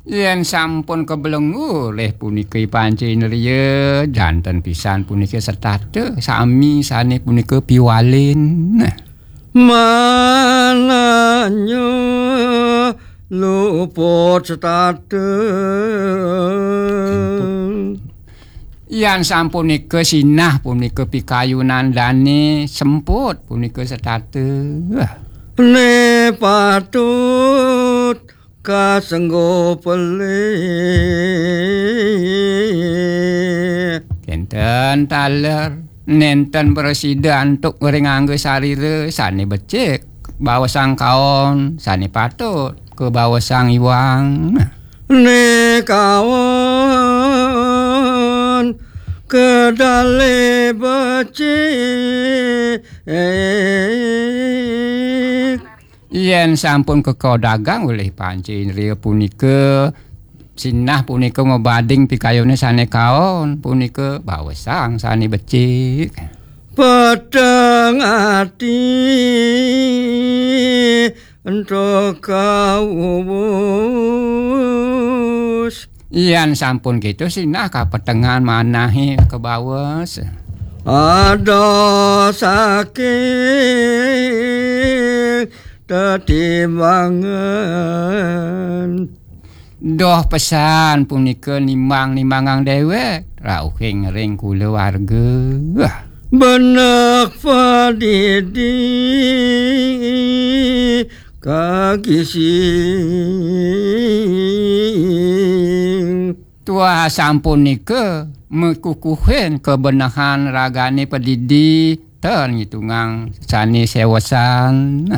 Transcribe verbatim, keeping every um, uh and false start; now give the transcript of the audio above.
Yén sampun kabelenggu olih punika I Panca Indria, janten pisan punika setata, sami sané punika piwalin. Mananya luput setata. Yan sampunika sinah punika pikayunan dané semput punika setata. Né patut kasenggo pelih. Kénten taler, nénten prasida antuk ring angga sarira sané becik, bawasang kaon sané patut, kabawasang iwang. Né kaon kedalé becik. Yén sampun keka dagang olih Panca Indria punika, sinah punika mabading pikayuné sané kaon, punika bawasang sané becik. Peteng ati ento kawus. Yan sampun gitu sinah kapetengan manahé kabawes. Ada saking tetimbangan. Doh pesan punika nimbang-nimbangang déwék, rauhing ring kulawarga. Benek padidi kagising. Tuah sampunika mekukuhin kabenehan ragané padidi, ten ngitungang sané séwesan.